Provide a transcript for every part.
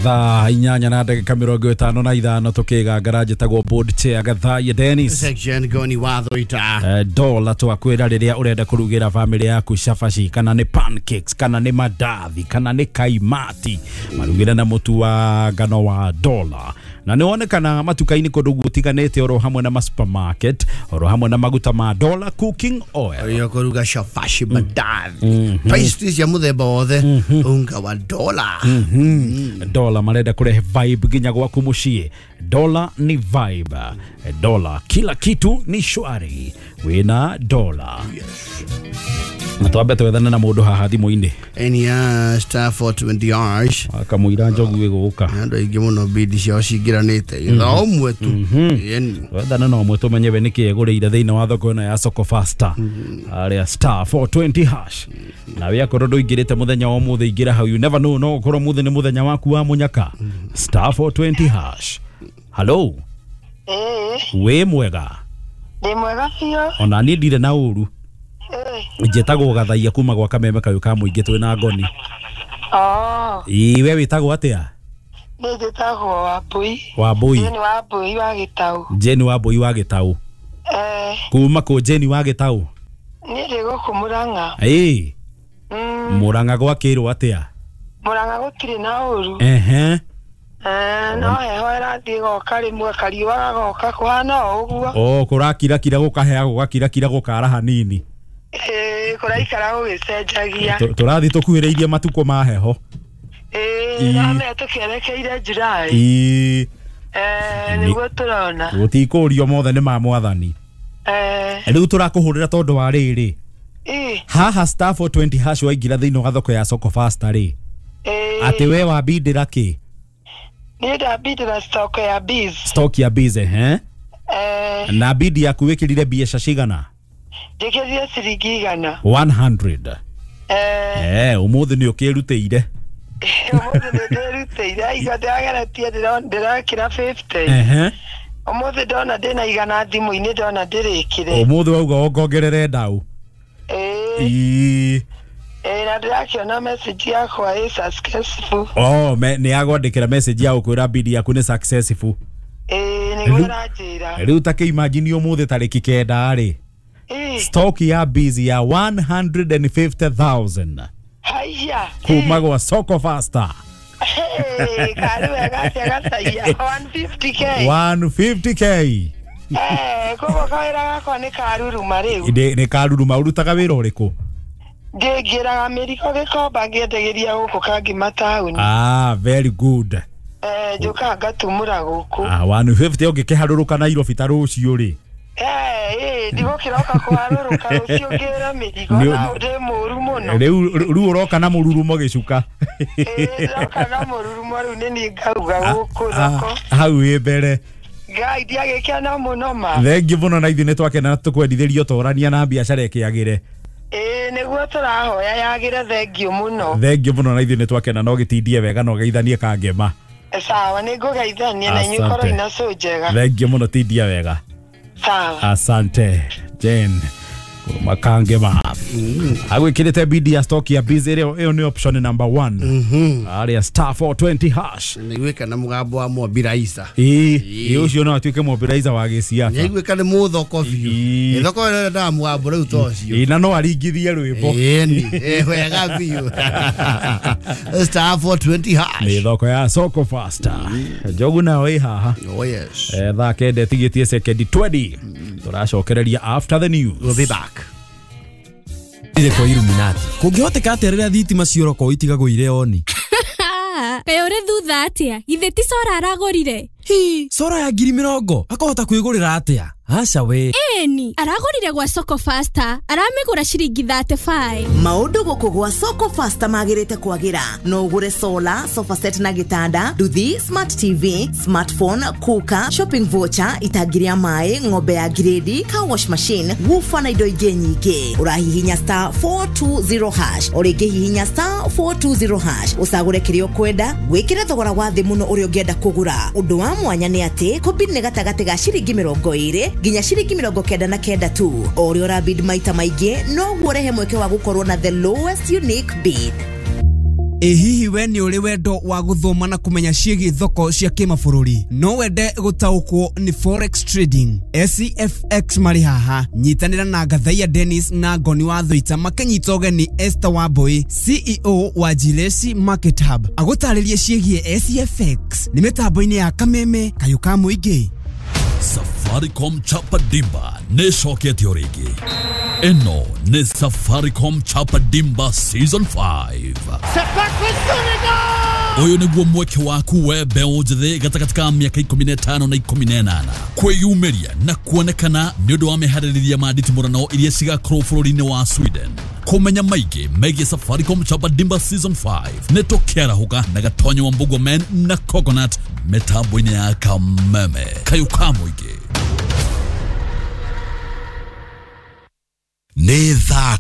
Thaa 8 na ndagĩka 55 tũkĩgangara. Njĩtagwo board chair Gathaiya Dennis. Section goni watho ita. Dola twakwĩra rĩrĩa ũrenda kũrugĩra famĩlĩ yaku cabaci, kana nĩ pancakes, kana nĩ mandathi, kana nĩ kaimati, marugĩre na mũtu wa ngano wa Dola, na nĩ wonekana matuka-inĩ kũndũ gũtiganĩte, oro hamwe na ma supermarket, oro hamwe na maguta ma Dola cooking oil. Iyo kuruga shafashi, mandathi, pastry cia muthemba wothe, unga wa Dola. Dola marenda kurehe vibe nginya gwaku muciĩ. Dola ni vibe. Dola kila kitu ni shwari wina Dola. Na twambe twethane na mũndũ haha thimũ-inĩ. Enia star 420 hash. Akamũira njogu ĩgũka. Andũ aingĩ mũno bidi ciao cingĩranĩte ithaa ũmwe tu. Ĩni. Twethane na ũmwe tũmenye we nĩkĩ egũrĩire thĩinĩ wa thoko ĩno ya Soko Fasta arĩa star 420 hash. Nawe akorwo ndũingĩrĩte mũthenya wa ũmũthĩ, ingĩra hau. You never know, no ũkorwo mũthĩ nĩ mũthenya waku wa mũnyaka. Star 420 hash. Hello. Ĩĩ. Wĩ mwega? Ndĩ mwega biũ. Ona niĩ ndirĩ na ũru. Ĩĩ. Njĩtagwo Gathaia kuma gwa kameme kayũ ka mũingĩ twĩ na ngoni. Oh, Ĩĩ, we wĩtagwo atĩa? Niĩ njĩtagwo Wambui. Wambui. Jane Wambui wa Gĩtaũ. Jane Wambui wa Gĩtaũ. Eh, kuma kũ, Jane wa Gĩtaũ? Niĩ ndĩ gũkũ Mũrang'a. Ĩĩ. Mũrang'a gwakĩrwo atĩa? Mũrang'a gũtirĩ na ũru. Ehe. Eh, no heho ĩrathiĩ ĩgoka rĩmwe, kariũa gagoka, kũhana o ũguo. O kũrakirakira gũkahea, gũgakirakira gũkara hanini. Ĩĩ, kũraikara gũgĩcenjagia. Tũrathiĩ tũkuhĩrĩirie matukũ ma heho. Ĩĩ, Ĩĩ. ndamenya tũkĩerekeire July. Ĩĩ. Eh, nĩguo tũrona. Gũtikũrio, mothe nĩ ma mwathani. Eh, Rĩu tũrakũhũrĩra tondũ wa rĩrĩ, ĩĩ, haha star 420 hash waingĩra thĩinĩ wa thoko ya Soko Fasta rĩ, ĩĩ. atĩ we wambindĩra kĩ? Niĩ ndambindĩra stock ya bees. Stock ya bees, ehe. Eh, Na bidi yaku wĩkĩrire mbeca cigana? Njĩkĩrire ciringi 100. 100. Eh, Eh, ũmũthĩ nĩ ũkĩrutĩire. Ũmũthĩ nĩ ndĩrutĩire, aiga ndĩrageretie ndĩrekĩra 50. Ehe. Ũmũthĩ ndona ndĩna 100 thimũ-inĩ, ndona ndĩrĩkĩre. Ũmũthĩ wauga wongongerere ndau. Ĩĩ. Ĩĩ. Ĩĩ, na ndĩrakĩona message yakwa ĩ successful. Oh, nĩ yagwandĩkĩra message ya gũkwĩra bidi yaku nĩ successful. Ĩĩ, nĩguo ĩranjĩra. Rĩu ta kĩimagine ũmũthĩ tarĩki 9 rĩ, Ĩĩ. stock ya bees ya 150,000 Haiya. kuma gwa Soko Fasta. Hey, karĩ wega atĩa Gathaia, 150K? 150K. Eh, koguo kawĩra gakwa nĩ karuruma rĩu. Nĩ karuruma. Ũrutaga wĩra ũrĩkũ? Ngĩngĩraga mĩrigo Gĩkomba, ngĩendagĩria gũkũ Kangima taũni. Ah, very good. Eh, njũkaga ngatumũra gũkũ. Ah, 150 ũngĩkĩharũrũka Nairobi ta rũciũ rĩ? Eh, ĩĩ, ndigũkĩroka kũharũrũka rũciũ ngĩre mĩrigo na ndĩ mũru mũno. Rĩu ũroka na mũrurumo gĩcuka. Ĩĩ, ndĩroka na mũrurumo rĩu, nĩ niĩ ngauga gũkũ thoko. Ah, hau wĩ mbere. Ngai, ndiagĩkena mũno ma. Thengiũ mũno, na ithuĩ nĩ twakena tũkwendithĩrio torania na biacara ĩkĩagĩre. Ĩĩ, nĩguo tũrahoya yagĩre, thengiũ mũno. Thengiũ mũno, na ithuĩ nĩ twakena, no gĩtindie wega na ũgeithanie Kangema. Sawa, nĩ ngũgeithania na inyuĩ. Asante. Korwo ina cũ njega. Thengiũ mũno, tindia wega. Sawa. Asante Jane Makangema agwĩkĩrĩte bidi ya stock ya bees. Ĩyo ĩyo nĩ option number 1 arĩa star 420 hash. Nĩguĩka na mũgambo wa Mwambiraisa. Ĩĩ ĩĩ, ũcio no atuĩke mobilizer wa gĩciaca. Nĩaiguĩka nĩ mũthoko biũ. Ĩĩ. Ĩ, thoko ĩrĩa ndaa mũgambo rĩu ta ũcio. Ĩĩ, na no aringithie rwĩmbo. Ĩni, ĩ, wega biũ, star 420 hash. Nĩ thoko ya Soko Fasta. Njogu nayo ĩ haha. Oh yes. Thaa 9 ĩtigĩtie sekendi 20, tũracokereria after the news. We'll be back. Ire kwa Illuminati. Kũngĩhoteka atĩa rĩrĩa thitima cioroko itigagwo irĩ oni? Kaĩ ũrĩ thutha atĩa? Githĩ ti cora aragũrire? Hi, cora ya 20,000 akahota kwĩgũrĩra atĩa? Aca we. Ĩni, aragũrire gwa Soko Fasta, aramĩgũra ciringi 35. Maũndũ gũkũ gwa Soko Fasta magĩrĩte kwagĩra. No ũgũre solar, sofa set na gĩtanda, nduthi, smart TV, smartphone, cooker, shopping voucher, itangi rĩa maĩ, ng'ombe ya grade, car wash machine, woofer na indo ingĩ nyingĩ. Ũrahihinya star 420 hash, o rĩngĩ hihinya star 420 hash, ũcagũre kĩrĩa ũkwenda, wĩkĩre thogora wa thĩ mũno ũrĩa ũngĩenda kũgũra. Ũndũ wa mwanya nĩ atĩ kũbid nĩ gatagatĩ ga ciringi 20 nginya ciringi 99 tu. O ũrĩa ũrabid maita maingĩ, noguo ũrehe mweke wa gũkorwo na the lowest unique bid. Ĩ hihi we nĩ ũrĩ wendo wa gũthoma na kũmenya ciĩgiĩ thoko cia kĩmabũrũri? No wende gũtaũkwo nĩ forex trading? SCFX marĩ haha. Nyitanĩra na Gathaiya Dennis na Ngoni wa Thũita makĩnyita ũgeni Esther Wambui, CEO wa Jilesi Market Hub, agũtarĩrie ciĩgiĩ SCFX nĩ mĩtambo-inĩ ya Kameme kayũ ka mũingĩ. Safaricom Chapa Dimba nĩ ĩcokete o rĩngĩ. Ĩno nĩ Safaricom Chapa Dimba Season 5. Ũyũ nĩguo mweke waku we mbeũ njĩthĩ gatagatĩ ka mĩaka 15 na 18 kwĩyumĩria na kuonekana nĩ ũndũ wa meharĩrĩria ma nditimũrano iria cigakorwo bũrũri-inĩ wa Sweden. Kũmenya maingĩ megiĩ Safaricom Chapa Dimba Season 5 nĩ tũkĩarahũka na Gatonyo wa Mbugua Men na Coconut mĩtambo-inĩ ya Kameme kayũ ka mũingĩ. Nĩ thaa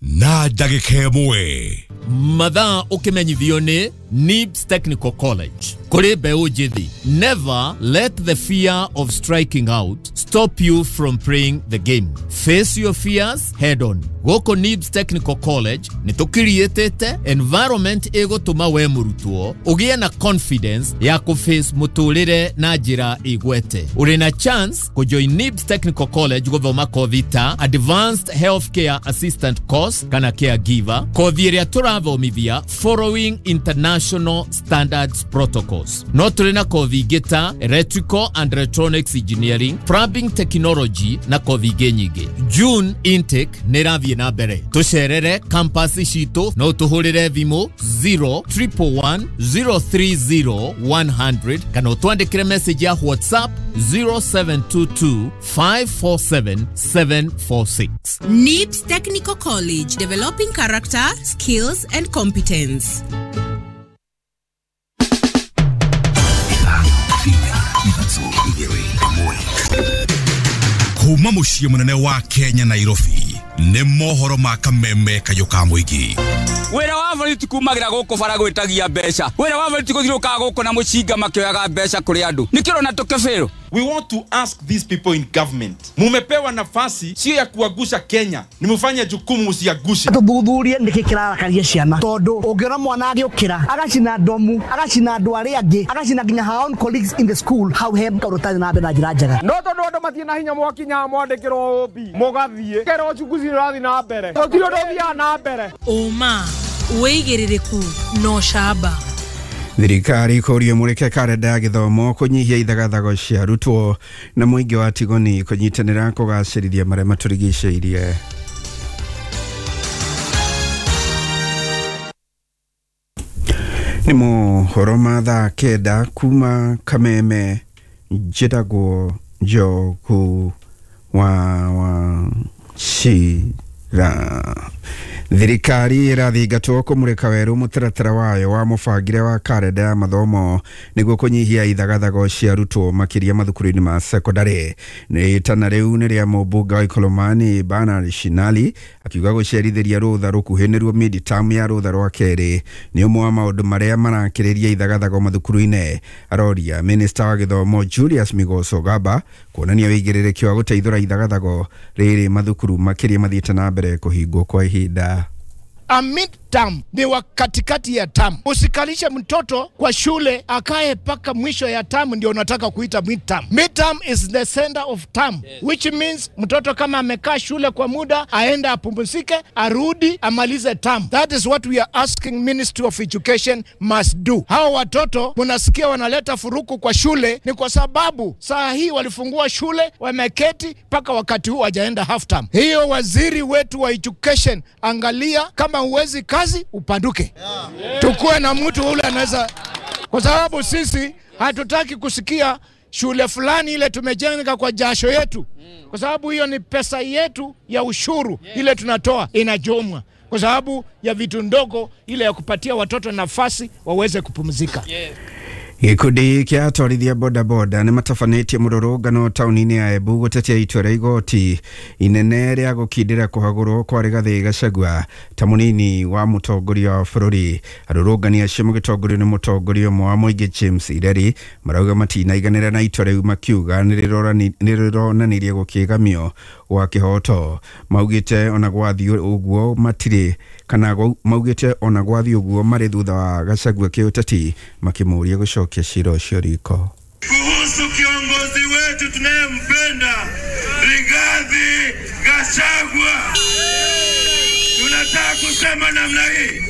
9:01. Mathaa ũkĩmenyithio nĩ NIBS Technical College. Kũrĩ mbeũ njĩthĩ, never let the fear of striking out stop you from playing the game. Face your fears head on. Gũkũ NIBS Technical College nĩ tũkiriĩtĩte environment ĩgũtũma we mũrutwo ũgĩe na confidence ya kũface mũtũrĩre na njĩra ĩgwete. Ũrĩ na chance kũjoin NIBS Technical College gũthoma kothi ta Advanced Healthcare Assistant Course kana Caregiver, kothi ĩrĩa tũrathomithia following international standards protocols. No tũrĩ na kothi ingĩ ta Electrical and Electronics Engineering, Plumbing Technology na kothi ingĩ nyingĩ. June intake nĩ ĩrathiĩ na mbere. Tũcerere campus citũ no tũhũrĩre thimũ 0 111 030 100 kana ũtwandĩkĩre message ya WhatsApp 0722 547 746. NIBS Technical College, developing character, skills and competence. Kuma mũciĩ mũnene wa Kenya Nairobi nĩ mohoro ma Kameme kayũ ka mũingĩ. Wĩra wa borithi kumagĩra gũkũ bara gwĩtagia mbeca. Wĩra wa borithi gũthiũrũrũkaga gũkũ na mũcinga makĩoyaga mbeca kũrĩ andũ. Nĩkĩo ũrona tũkĩbĩrwo. We want to ask these people in government, mumepewa nafasi sio ya kuagusha Kenya, ni mufanye jukumu msiagushe. Tuthuthurie niki kirarakaria ciana, tondu ungiona mwana agiukira agacina ndomu, agacina andu aria angi, agacina nginya her own colleagues in the school, hau he kaundu tari na mbere na njira njega. No tondu andu matirĩ na hinya mwakinya mwandĩkĩrwo OB mũgathiĩ kerwo uchunguzi nĩ ũrathiĩ na mbere, gũtirĩ ũndũ ũthiaga na mbere. Ũma, wĩigĩrĩrĩku na ũcamba. Thirikari kũrio mũrĩke karenda ya gĩthomo kũnyihia ithagathago cia arutwo na mũingĩ wa Tigoni kũnyitanĩra kũgacĩrithia marĩa matũrigicĩirie. Nĩ mohoro ma thaa 9 kuma Kameme. Njĩtagwo Njogu wa Wachira. Thirikari ĩrathingatwo kũmũrĩka werũ mũtaratara wayo wa mũbangĩre wa karenda ya mathomo nĩguo kũnyihia ithagathago cia arutwo makĩria mathukuru-inĩ ma sekondarĩ. Rĩtana rĩu nĩ rĩa mũmbunge wa Ikolomani Bernard Shinali akiuga gũcerithĩria rũtha rũkuhĩ nĩruo mid-term ya rũtha rwa kerĩ nĩ ũmwe wa maũndũ marĩa marakĩrĩria ithagathago mathukuru-inĩ. Aroria minista wa gĩthomo Julius Migos Ogamba kuonania wĩigĩrĩrĩki wa gũteithũra ithagathago rĩrĩ mathukuru makĩria mathiĩte na mbere kũhingwo kwa ihinda. A mid-term ni wa katikati ya term. Usikalishe mtoto kwa shule akae paka mwisho ya term ndio unataka kuita mid-term. Mid-term is the center of term, yes. Which means mtoto kama amekaa shule kwa muda aenda apumzike, arudi amalize term. That is what we are asking Ministry of Education must do. Hao watoto mnasikia wanaleta furuku kwa shule ni kwa sababu saa hii walifungua shule wameketi paka wakati huu hawajaenda half term. Hiyo waziri wetu wa education, angalia kama uwezi kazi upanduke. Yeah. Tukue na mtu ule anaweza, kwa sababu sisi hatutaki kusikia shule fulani ile tumejenga kwa jasho yetu, kwa sababu hiyo ni pesa yetu ya ushuru ile tunatoa inajomwa kwa sababu ya vitu ndogo ile ya kupatia watoto nafasi waweze kupumzika. Gĩkundi kĩa atwarithia bodaboda nĩ matabanĩtie mũrũrũngano taũni-inĩ ya Embu gũtetia itua rĩa igoti inene rĩa gũkindĩra kũhagũrwo kwa Rigathĩ Gachagua ta mũnini wa mũtongoria wa bũrũri. Arũrũngani acio magĩtongorio nĩ mũtongoria ũmwe wa mũingĩ James Ireri marauga matinaiganĩra na itua rĩu makiuga nĩ rĩronanirie gũkĩgamio wa kĩhooto. Maugĩte ona gwathiĩ ũguo matirĩ kana maugĩte ona gwathiĩ ũguo marĩ thutha wa Gachagua kĩũteti, makĩmũũria gũcokia cira ũcio riko. Kuhusu kiongozi wetu tunayempenda Rigathi Gachagua, tunataka kusema namna hii.